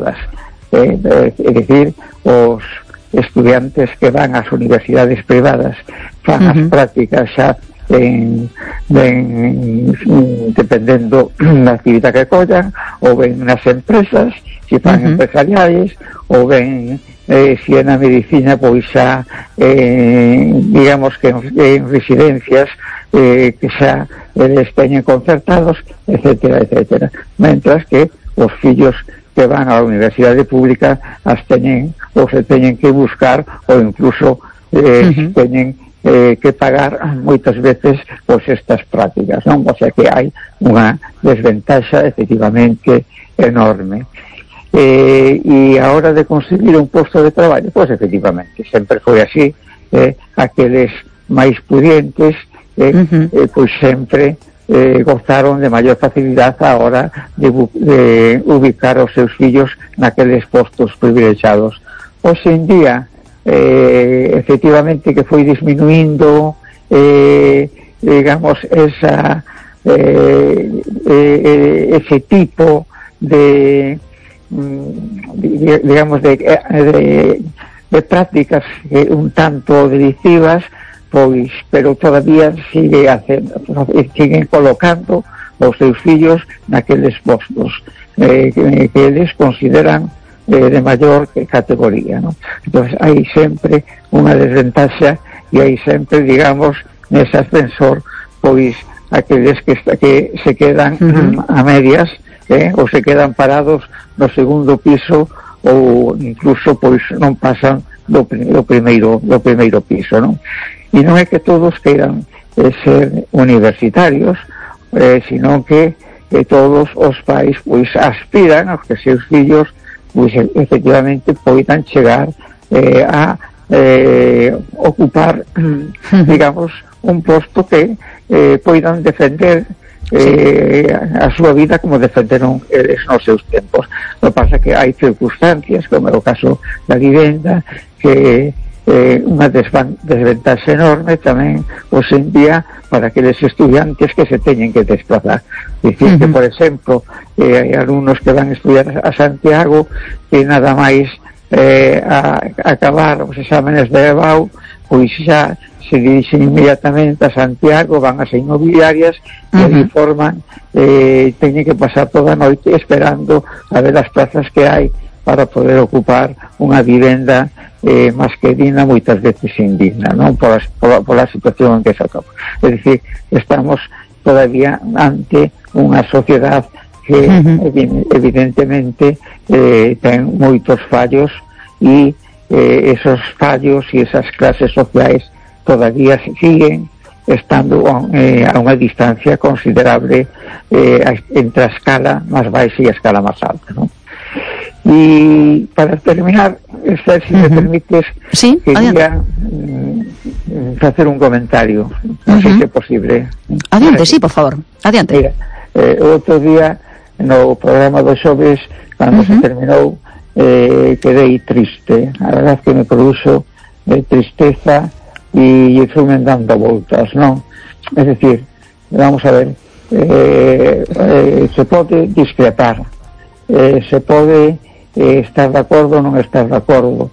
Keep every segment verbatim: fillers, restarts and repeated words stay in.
privadas. Eh, é dicir, os estudiantes que van ás universidades privadas fan uh-huh. as prácticas xa en, en, dependendo da actividade que collan, ou ben nas empresas, se fan uh-huh. empresariais, ou ben eh, se é na medicina, pois xa eh, digamos que en, en residencias eh, que xa eles teñen concertados, etcétera, etcétera, mentras que os fillos que van á universidade pública as teñen ou se teñen que buscar ou incluso eh, uh-huh. teñen eh, que pagar moitas veces pois estas prácticas, non? O sea que hai unha desventaxa efectivamente enorme. Eh, e a hora de conseguir un posto de traballo, pois efectivamente sempre foi así, eh, aqueles máis pudientes eh, uh-huh. eh, pois sempre Eh, gozaron de maior facilidade a hora de, de ubicar os seus fillos naqueles postos privilexiados. Hoxe en día eh, efectivamente que foi disminuindo eh, digamos esa eh, eh, ese tipo de digamos de, de, de prácticas eh, un tanto delictivas, pois, pero todavía sigue hacendo, siguen colocando os seus fillos naqueles postos eh, que, que eles consideran eh, de maior categoría, ¿no? Entonces hai sempre unha desventaxa e hai sempre, digamos, nese ascensor, pois, aqueles que, que se quedan uh-huh. a medias, eh, ou se quedan parados no segundo piso ou incluso, pois, non pasan do, do primeiro do primeiro piso, non? E non é que todos queiran eh, ser universitarios, eh, sino que eh, todos os pais pois aspiran a que seus fillos pois efectivamente poidan chegar eh, a eh, ocupar digamos un posto que eh, poidan defender eh, a súa vida como defenderon eles nos seus tempos. O que pasa que hai circunstancias, como é o caso da vivenda, que Eh, unha desventaxa enorme tamén hoxe en día para aqueles estudiantes que se teñen que desplazar. Dicir uh-huh. que, por exemplo, eh, hai alumnos que van a estudiar a Santiago e nada máis eh, a, a acabar os exámenes de E B A U, pois xa se dirixen inmediatamente a Santiago, van as inmobiliarias uh-huh. e ali forman, eh, teñen que pasar toda a noite esperando a ver as plazas que hai para poder ocupar unha vivenda eh, máis que digna, moitas veces indigna, non? Por, as, por, por a situación en que se atopa. É dicir, estamos todavía ante unha sociedade que uh-huh. evidentemente eh, ten moitos fallos e eh, esos fallos e esas clases sociais todavía siguen estando eh, a unha distancia considerable eh, entre a escala máis baixa e a escala máis alta, non? Y para terminar, Esther, si uh-huh. me permites, sí, quería mm, hacer un comentario, no uh-huh. sé si es posible. Adiante, sí, por favor, adiante. Mira, eh, outro día no programa dos xoves, cando uh-huh. se terminou, eh, quedei triste. A verdad que me produxo eh, tristeza e fui dando voltas, non? Es decir, vamos a ver, eh, eh, se pode discrepar, eh, se pode eh, estar de acordo ou non estar de acordo,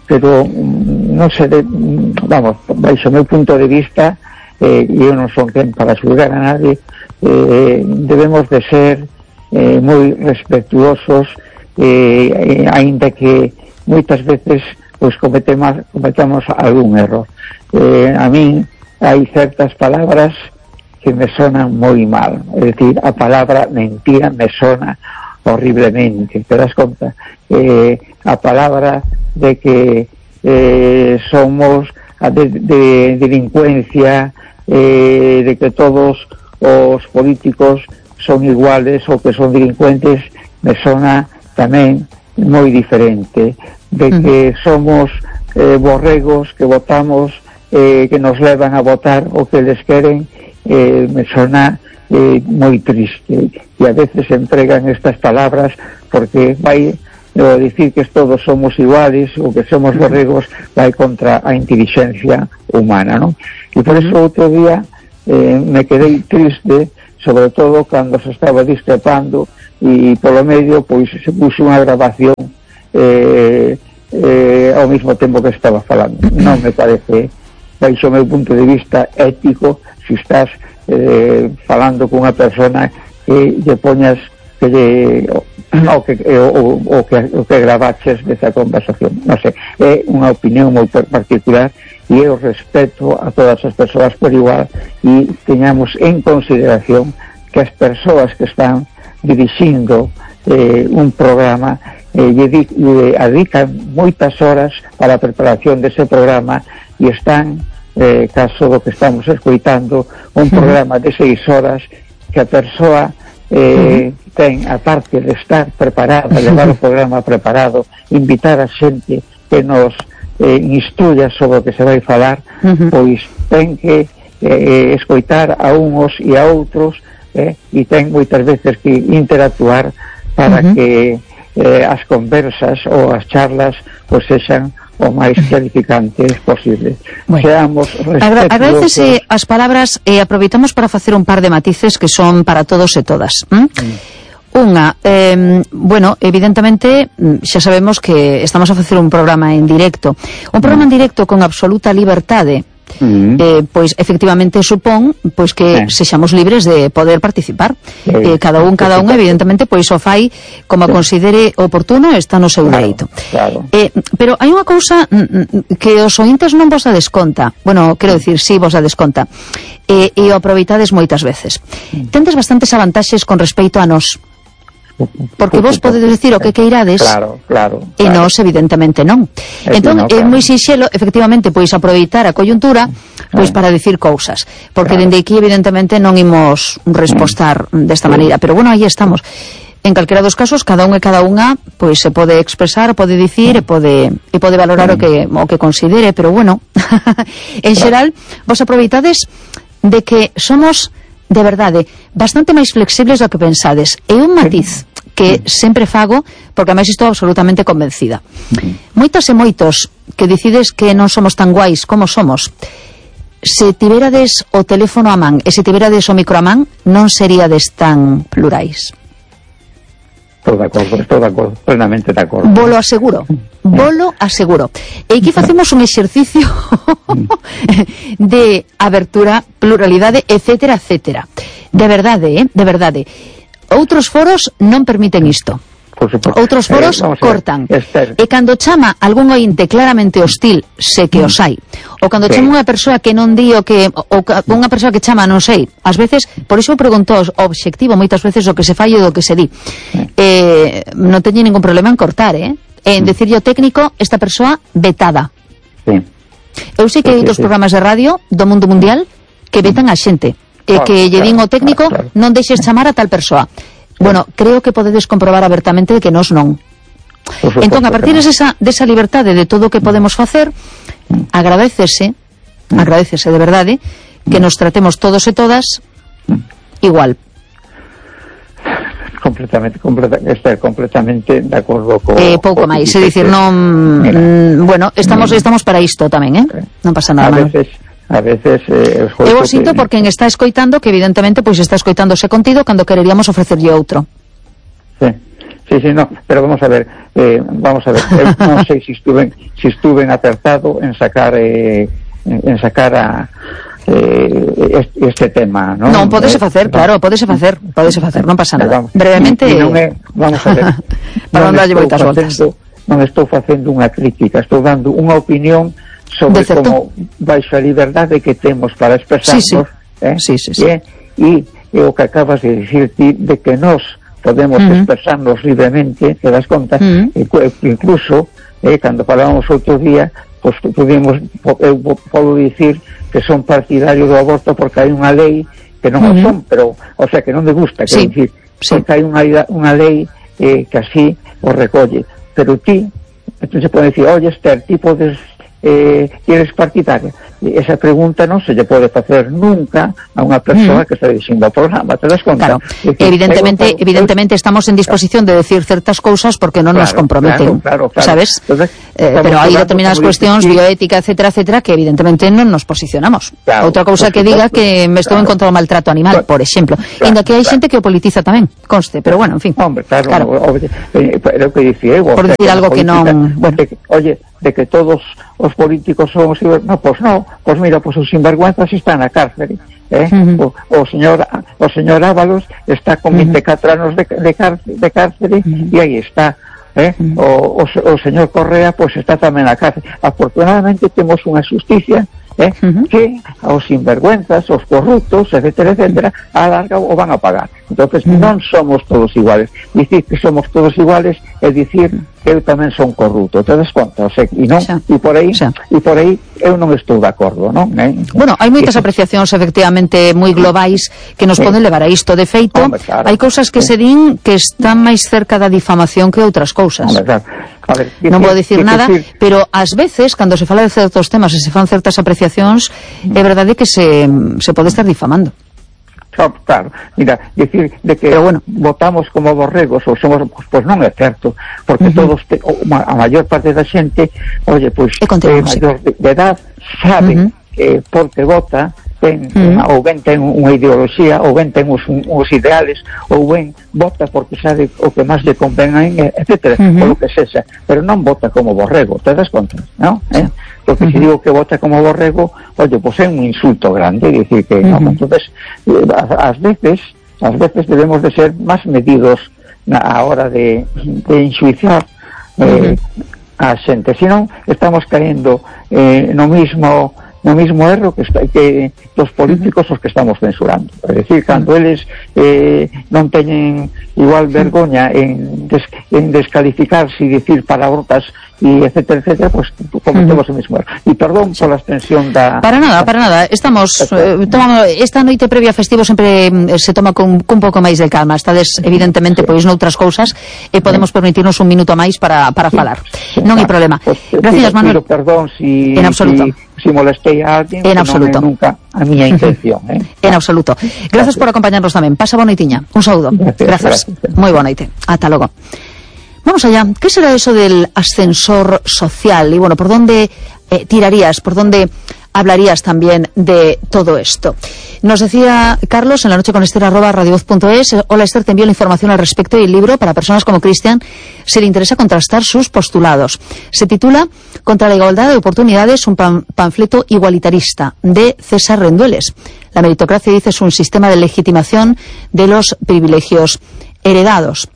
pero non se de, vamos, baixo o meu punto de vista, eh, eu non son quen para xulgar a nadie, eh, debemos de ser eh, moi respetuosos, eh, aínda que moitas veces pois cometemos, cometemos algún error. Eh, a min hai certas palabras que me sonan moi mal, é dicir, a palabra mentira me sona horriblemente, te das conta? Eh, a palabra de que eh, somos de, de delincuencia, eh, de que todos os políticos son iguales ou que son delincuentes, me sona tamén moi diferente. De que somos eh, borregos que votamos, eh, que nos levan a votar o que les queren, eh, me sona eh, moi triste, e a veces empregan estas palabras porque vai a dicir que todos somos iguales ou que somos borregos, vai contra a inteligencia humana, non? E por eso outro día eh, me quedei triste, sobre todo cando se estaba discrepando e polo medio pois se puxo unha grabación eh, eh, ao mesmo tempo que estaba falando. Non me parece, baixo o meu punto de vista ético, se estás eh, falando cunha persona que lle poñas que lle, o, que, o, o, que, o que gravaches desa conversación. Non sei, é unha opinión moi particular e eu respeto a todas as persoas por igual e teñamos en consideración que as persoas que están dirixindo eh, un programa eh, lle, lle adican moitas horas para a preparación dese programa e están, eh, caso do que estamos escoitando, un programa de seis horas que a persoa eh, ten, a parte de estar preparada, levar o programa preparado, invitar a xente que nos eh, instruya sobre o que se vai falar, uh-huh. pois ten que eh, escoitar a uns e a outros eh, e ten moitas veces que interactuar para uh-huh. que eh, as conversas ou as charlas pois sexan o máis clarificantes posible. Bueno, seamos respetuosos. Agradecese as palabras e aproveitamos para facer un par de matices que son para todos e todas. ¿Mm? Mm. Unha, eh, bueno, evidentemente xa sabemos que estamos a facer un programa en directo. Un programa en directo con absoluta liberdade. Mm. Eh, pois efectivamente supón pois que eh. sexamos libres de poder participar. Eh, eh, cada un, cada un evidentemente pois o fai como sí. considere oportuno, está no seu claro, dereito. Claro. Eh, pero hai unha cousa que os ointes non vos a desconta. Bueno, quero dicir, si sí, vos a desconta. Eh, e o aproveitades moitas veces. Mm. Tendes bastantes avantaxes con respecto a nós. Porque vos podedes decir o que queirades, claro, claro, claro. e nós evidentemente non. É entón no, claro. é moi sinxelo efectivamente pois aproveitar a coyuntura pois para dicir cousas, porque claro. dende aquí evidentemente non imos respostar mm. desta maneira, pero bueno, aí estamos. En calquera dos casos, cada un e cada unha pois se pode expresar, pode dicir e pode e pode valorar mm. o que o que considere, pero bueno, en xeral vos aproveitades de que somos de verdade, bastante máis flexibles do que pensades. E un matiz que sempre fago, porque ademais estou absolutamente convencida. Moitas e moitos que decides que non somos tan guais como somos, se tiverades o teléfono a man e se tiverades o micro a man, non seríades tan plurais. Estou de acordo, estou de acordo, plenamente de acordo. Volo aseguro, volo aseguro. E aquí facemos un exercicio de abertura, pluralidade, etcétera, etcétera. De verdade, eh? De verdade. Outros foros non permiten isto. Outros foros eh, cortan. Esther. E cando chama algún ointe claramente hostil, sé que os hai. Ou cando sí. chama unha persoa que non di o que, ou unha persoa que chama, non sei, ás veces, por iso pregunto o obxectivo moitas veces o que se fai e do que se di. Sí. Eh, non teño ningún problema en cortar, eh? En decirlle ao técnico, esta persoa vetada. Sí. Eu sei que hai outros sí, sí. programas de radio do mundo mundial que vetan a xente. E que lle din ao técnico, claro, claro. non deixes chamar a tal persoa. Bueno, creo que podedes comprobar abertamente que nós non. Entón, a partir desa, desa liberdade de todo o que podemos facer, agradecese, agradecese de verdade, que nos tratemos todos e todas igual. Completamente, completa, estar completamente de acordo co... Eh, pouco máis, é dicir, non... Mm, bueno, estamos estamos para isto tamén, eh? Non pasa nada. A veces... A veces eh, eu o sinto que... porque quen está escoitando que evidentemente pois está escoitándose contido cando quereríamos ofrecerlle outro. Sí, sí, sí, no, pero vamos a ver, eh, vamos a ver, eu non sei se estuve se estuve acertado en sacar eh, en sacar a eh, este, este tema, ¿no? Non, podese facer, eh, claro, podese facer, podese facer, non pasa nada. Vamos, brevemente, y, y non é, vamos a ver. Para non darlle moitas voltas. Non estou facendo unha crítica, estou dando unha opinión sobre como baixo a liberdade que temos para expresarnos, sí, sí. Eh? Sí, sí, sí. Eh? E, e o que acabas de dicir ti, de que nós podemos uh-huh. expresarnos libremente, te das conta, uh-huh. e, incluso eh, cando falábamos outro día, pues, pudimos, eu podo dicir que son partidario do aborto porque hai unha lei que non uh-huh. o son, pero, o sea, que non me gusta, que sí. dicir, sí. porque hai unha, unha lei eh, que así o recolle, pero ti, entonces se pode dicir, oye, Esther, ti podes Eh, eres partidaria, esa pregunta non se lle pode facer nunca a unha persoa mm. que está dicindo o programa, te das conta? Claro, decir, evidentemente, claro, evidentemente estamos en disposición de decir certas cousas porque non claro, nos comprometen, claro, claro, claro. sabes? Entonces, eh, pero hai determinadas cuestións, bioética, etcétera, etcétera, que evidentemente non nos posicionamos. Claro, outra cousa que diga que me estou claro. en contra do maltrato animal, claro, por exemplo. Claro, Inda que hai claro. xente que o politiza tamén, conste, pero bueno, en fin. Hombre, claro, claro. No, pero que dice, ego, por decir algo que non... Bueno. De que, oye, de que todos os políticos son os... No, pois pues non, pois pues mira, pois pues os sinvergüenzas están na cárcere. Eh? Uh -huh. o, o señor o señor Ábalos está con veinticuatro uh -huh. anos de, de, cárcere, de cárcere uh -huh. e aí está. Eh? Uh -huh. o, o, o señor Correa pois pues, está tamén na cárcere. Afortunadamente temos unha justicia eh? uh -huh. que aos sinvergüenzas, os corruptos, etcétera, etcétera, a larga o van a pagar. Entonces uh -huh. non somos todos iguales. Dicir que somos todos iguales é dicir que eu tamén son corrupto, te das conta? O sea, e non, e por aí, e por aí eu non estou de acordo, non? Eh? Bueno, hai moitas apreciacións efectivamente moi globais que nos sí. poden levar a isto. De feito, Hombre, claro. hai cousas que sí. se din que están máis cerca da difamación que outras cousas. Hombre, claro. A ver, non vou dicir nada, decir... pero ás veces, cando se fala de certos temas e se fan certas apreciacións, mm. é verdade que se, se pode estar difamando. Claro, mira, decir de que bueno, votamos como borregos ou somos, pois pues non é certo, porque uh -huh. todos te, a maior parte da xente, oye, pois pues, é maior de, de edad, sabe uh -huh. que porque vota ten, uh -huh. ou ben ten unha ideoloxía, ou ben ten os, os ideales, ou ben vota porque sabe o que máis lle convén, etcétera, uh -huh. ou o que sexa, pero non vota como borrego, te das conta, non? Eh? Porque uh -huh. se digo que vota como borrego, oye, pois é un insulto grande, dicir que, uh -huh. non? Entonces, ás veces, ás veces debemos de ser máis medidos na hora de, de enxuiciar eh, uh -huh. a xente, senón estamos caendo eh, no mismo no mismo erro que, está, que os políticos os que estamos censurando. É dicir, cando eles eh, non teñen igual vergoña en, des, en descalificarse e dicir palabrotas e etcétera, etcétera, pues cometemos uh -huh. o mismo erro. E perdón sí. pola extensión da... Para nada, para nada. Estamos, eh, tomamos, esta noite previa festivo sempre eh, se toma con, con un pouco máis de calma. Estades, evidentemente, sí. pois noutras cousas e podemos sí. permitirnos un minuto máis para, para sí. falar. Sí. Non hai problema. Pues, Gracias, pido, Manuel. Pido perdón si... En absoluto. Si... si molestei a alguén, en absoluto. Non é nunca a miña intención, eh? En absoluto. Gracias, gracias por acompañarnos tamén. Pasa boa noitiña. Un saúdo. Gracias. gracias. Moi boa noite. Ata logo. Vamos allá. ¿Qué será eso del ascensor social? Y bueno, ¿por dónde eh, tirarías? ¿Por dónde hablarías también de todo esto? Nos decía Carlos en la noche con Esther arroba radiovoz punto es. Hola Esther, te envío la información al respecto y el libro para personas como Cristian si le interesa contrastar sus postulados. Se titula Contra la igualdad de oportunidades, un pan panfleto igualitarista de César Rendueles. La meritocracia, dice, es un sistema de legitimación de los privilegios heredados.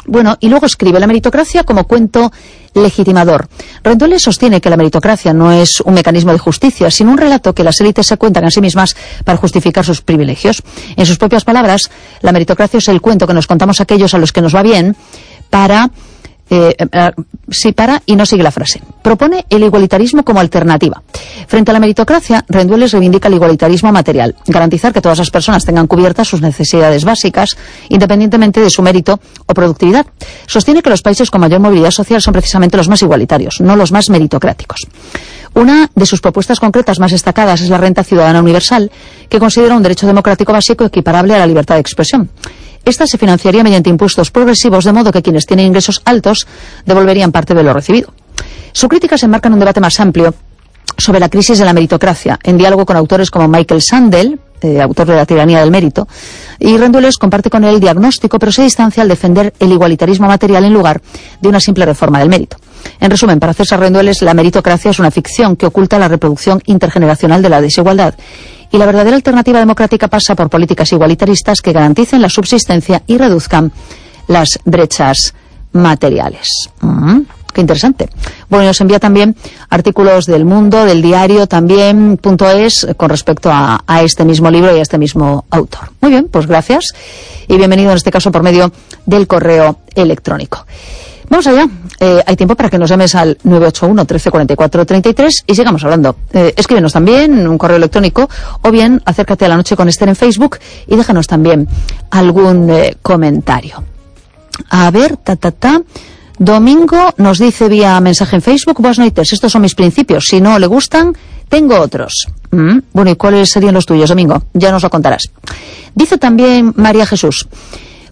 Bueno, y luego escribe la meritocracia como cuento legitimador. Rendueles sostiene que la meritocracia no es un mecanismo de justicia, sino un relato que las élites se cuentan a sí mismas para justificar sus privilegios. En sus propias palabras, la meritocracia es el cuento que nos contamos a aquellos a los que nos va bien para... Eh, eh, sí, para y no sigue la frase. Propone el igualitarismo como alternativa. Frente a la meritocracia, Rendueles reivindica el igualitarismo material, garantizar que todas las personas tengan cubiertas sus necesidades básicas, independientemente de su mérito o productividad. Sostiene que los países con mayor movilidad social son precisamente los más igualitarios, no los más meritocráticos. Una de sus propuestas concretas más destacadas es la renta ciudadana universal, que considera un derecho democrático básico equiparable a la libertad de expresión. Esta se financiaría mediante impuestos progresivos, de modo que quienes tienen ingresos altos devolverían parte de lo recibido. Su crítica se enmarca en un debate más amplio sobre la crisis de la meritocracia, en diálogo con autores como Michael Sandel, eh, autor de La tiranía del mérito, y Rendueles comparte con él el diagnóstico, pero se distancia al defender el igualitarismo material en lugar de una simple reforma del mérito. En resumen, para César Rendueles, la meritocracia es una ficción que oculta la reproducción intergeneracional de la desigualdad, y la verdadera alternativa democrática pasa por políticas igualitaristas que garanticen la subsistencia y reduzcan las brechas materiales. Mm, qué interesante. Bueno, nos envía también artículos del Mundo, del Diario también, punto es, con respecto a, a este mismo libro y a este mismo autor. Muy bien, pues gracias y bienvenido en este caso por medio del correo electrónico. Vamos allá. Eh, hay tiempo para que nos llames al nueve ocho uno, trece, cuarenta y cuatro, treinta y tres y sigamos hablando. Eh, escríbenos también un correo electrónico o bien acércate a La Noche con Esther en Facebook y déjanos también algún eh, comentario. A ver, ta, ta, ta. Domingo nos dice vía mensaje en Facebook: buenas noites, estos son mis principios. Si no le gustan, tengo otros. ¿Mm? Bueno, ¿y cuáles serían los tuyos, Domingo? Ya nos lo contarás. Dice también María Jesús: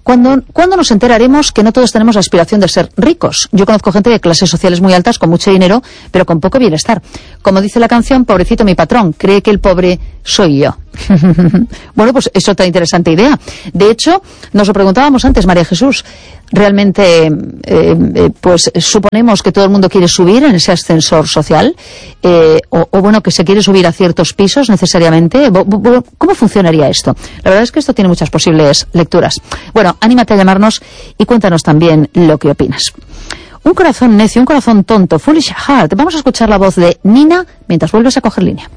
¿Cuándo, ¿Cuándo nos enteraremos que no todos tenemos la aspiración de ser ricos? Yo conozco gente de clases sociales muy altas, con mucho dinero, pero con poco bienestar. Como dice la canción, pobrecito mi patrón, cree que el pobre soy yo. Bueno, pues es otra interesante idea. De hecho, nos lo preguntábamos antes, María Jesús. Realmente, eh, eh, pues suponemos que todo el mundo quiere subir en ese ascensor social, eh, o, o bueno, que se quiere subir a ciertos pisos necesariamente. ¿Cómo funcionaría esto? La verdad es que esto tiene muchas posibles lecturas. Bueno, anímate a llamarnos y cuéntanos también lo que opinas. Un corazón necio, un corazón tonto, foolish heart. Vamos a escuchar la voz de Nina mientras vuelves a coger línea.